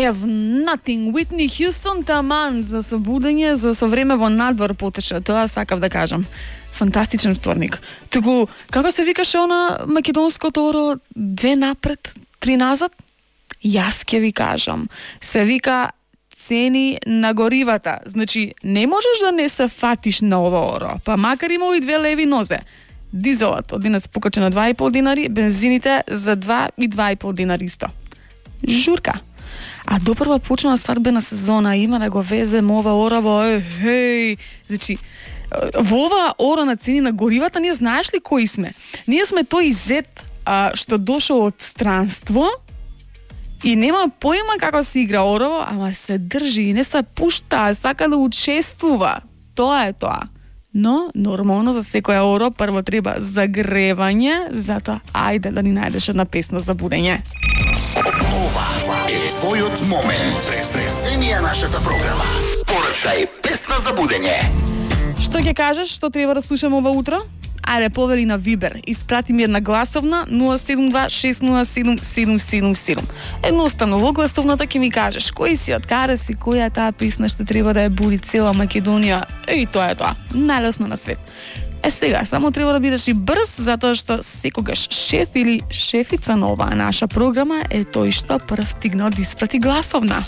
have nothing. Whitney Houston таман за собудење, за совреме во надвор потеше. Тоа сакав да кажам. Фантастичен вторник. Туку, како се викаше она македонското оро, 2 напред, 3 назад? Јас ќе ви кажам. Се вика цени на горивата. Значи, не можеш да не се фатиш на ова оро, па макар има и 2 леви нозе. Дизелот од денес покаче на 2,5 динари, бензините за 2 и 2,5 динари исто. Журка. А допрва почна свадбена сезона, има да го везем ова ораво, хеј. Значи, во ова ора на цени на горивата, ние знаеш ли кои сме? Ние сме тој зет што дошол од странство и нема поима како се игра ораво, ама се држи и не се пушта, сака да учествува. Тоа е тоа. Но, нормално за секоја оро прво треба загревање, затоа ајде да ни најдеш една песна за будење. Ова е твојот момент. Преземија нашата програма. Порачај песна за будење. Што ќе кажеш, што треба да слушам ова утро? Ајде, повели на Вибер. Испрати ми една гласовна 072-607-777. Едноставно, во гласовната ќе ми кажеш кој си, од каде си, која е таа песна што треба да ја буди цела Македонија. И тоа е тоа. Најлесно на свет. Сега, само треба да бидеш и брз, затоа што секогаш шеф или шефица на оваа наша програма е тој што прв стигнал да испрати гласовна.